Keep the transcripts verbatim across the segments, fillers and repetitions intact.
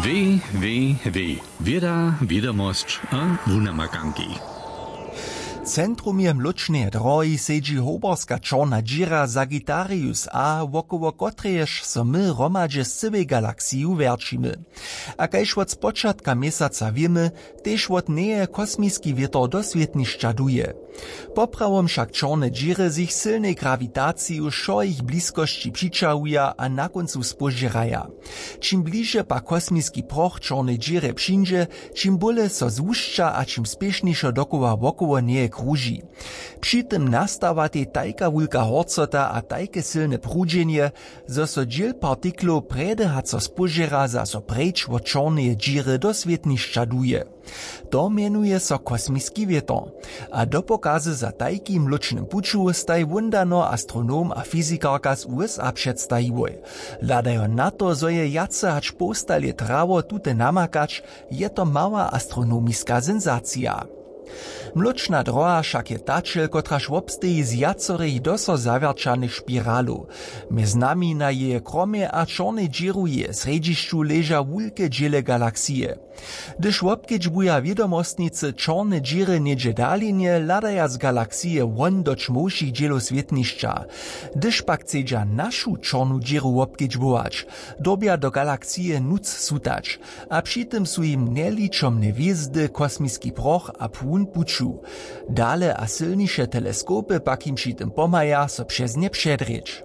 W W W, wěda, wědomosć a wunamakanki. W centrumje mlóčneje drohi sedźi hoberska čorna dźěra Sagittarius A, wokoło kotrejež so my hromadźe z cyłej galaksiju wjerćimy. A kaž wot spočatka měsaca wěmy, tež wot njeje kosmiski wětor do swětnišća duje. Poprawom wšak čorne dźěry z jich sylnej grawitaciju wšo jich bliskosći přićahuja a na kóncu spóžěraja. Čim bliže pak kosmiski proch čornej dźěrje přińdźe, čim bóle so złušća a čim spěšnišo dokoła wokoło njeje kruži. Při tym nastawatej tajka wulka horcota a tajke sylne prudźenje, zo so dźěl partiklow prjedy haco spóžěra zaso preč wot čorneje dźěry do swětnišća duje. To mjenuje so kosmiski wětor. A do pokazy za tajki w mlóčnym puću staj wóndano astronom a fyzikarka z U S A předstajiłoj. Hladajo na to, zo je wjace hač połsta lět trało tute namakać, je to mała astronomiska sensacija. Mlóčna droha wšak je tačel, kotraž wobsteji z wjacorej doso zawjerćanych spiralow. Mjez nami na jeje kromje a čornej dźěru jeje srjedźišću leža wulke dźěle galaksije. Hdyž wobkedźbuja wědomostnicy čorne dźěry něhdźe w dalinje, hladaja z galaksije won do ćmowšich dźělow swětnišća. Hdyž pak chcedźa našu čornu dźěru wobkedźbować, dyrbja do galaksije nutř sutać. A při tym su jim njeličomne hwězdy, kosmiski proch a płón puću. Dale a sylniše teleskopy pak jim při tym pomhaja so přez nje předrěć.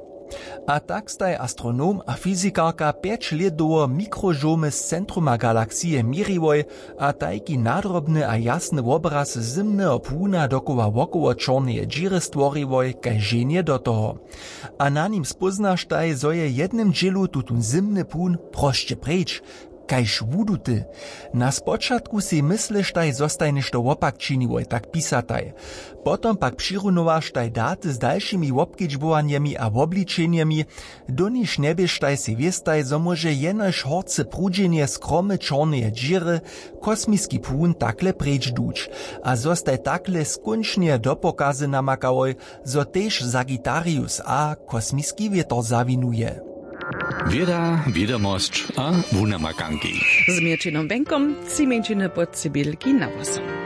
A tak staj astronom a fyzikarka pjeć lět dołho mikrožołmy z centruma galaksije měriłoj a tajki nadrobny a jasny wobraz zymneho płuna dokoła wokoło čorneje dźěry stworiłoj kaž ženje do toho. A na nim spóznaštaj, zo je w jednym dźělu tutón zymny płun prosće preč, kaž wuduty. Na spočatku sej mysleštaj, zo staj něšto wopak činiłoj, tak pisataj. Potom pak přirunowaštaj daty z dalšimi wobkedźbowanjemi a wobličenjemi, doniž njeběštaj sej wěstaj, zo móže jenož horce prudźenje z kromy čorneje dźěry kosmiski płun takle preč duć. A zo staj takle skónčnje do pokazy namakałoj, zo tež Sagittarius A kosmiski wětor zawinuje. Wěda, wědomosć a wunamakanki. Z Měrćinom Benkom tři mjeńšiny pod Siběrki na włosom.